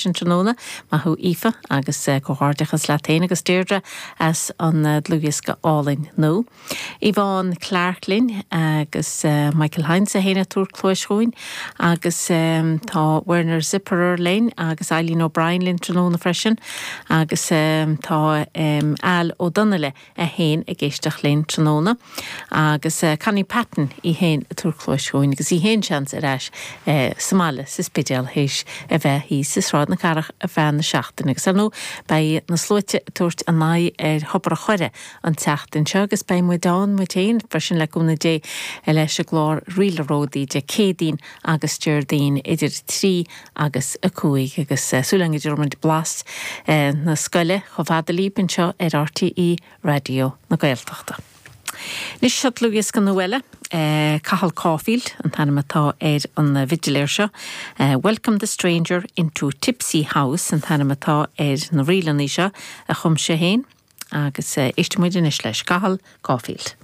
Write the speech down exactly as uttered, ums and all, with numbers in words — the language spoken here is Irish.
freisin tráthnóna maith thú Aoife agus comhghairdeachas leat féin agus Deirdre as an dlúthdhiosca álainn nua. Yvonne Clark linn agus Michael Heinz a héana túr clóis chuin agus tá Werner Zipperer linn agus Eileen O'Brien linn tráthnóna freisin agus tá Al Ó Donnaile é féin ag éisteacht linn tráthnóna agus Connie Patton í féin ag tabhairt cluas chugainn agus í féin seans ar ais sa mbaile sa Spidéal théis a bheith thíos i Sráid na Cathrach ar feadh na seachtaine agus ar ndóigh beidh na sluaite ag tabhairt a n-aghaidh ar Thobar an Choire an tseachtain seo agus beidh muid ann muid féin freisin le cúnamh Dé leis an gclár Ríle Ródaí Dé Céadaoin agus Déardaoin idir trí agus a cúig agus súil againn go dtabharfaidh muid blas na scoile chomh fada libh anseo ar RTÉ Raidió na Gaeltachta. Anois seo dlúthdhiosca nua eile, Cathal Caulfield an t-ainm atá ar an bhfidiléir seo. Welcome the Stranger into Tipsy House an t-ainm atá ar na ríleanna seo a chum sé féin agus éistfidh muid anois leis Cathal Caulfield.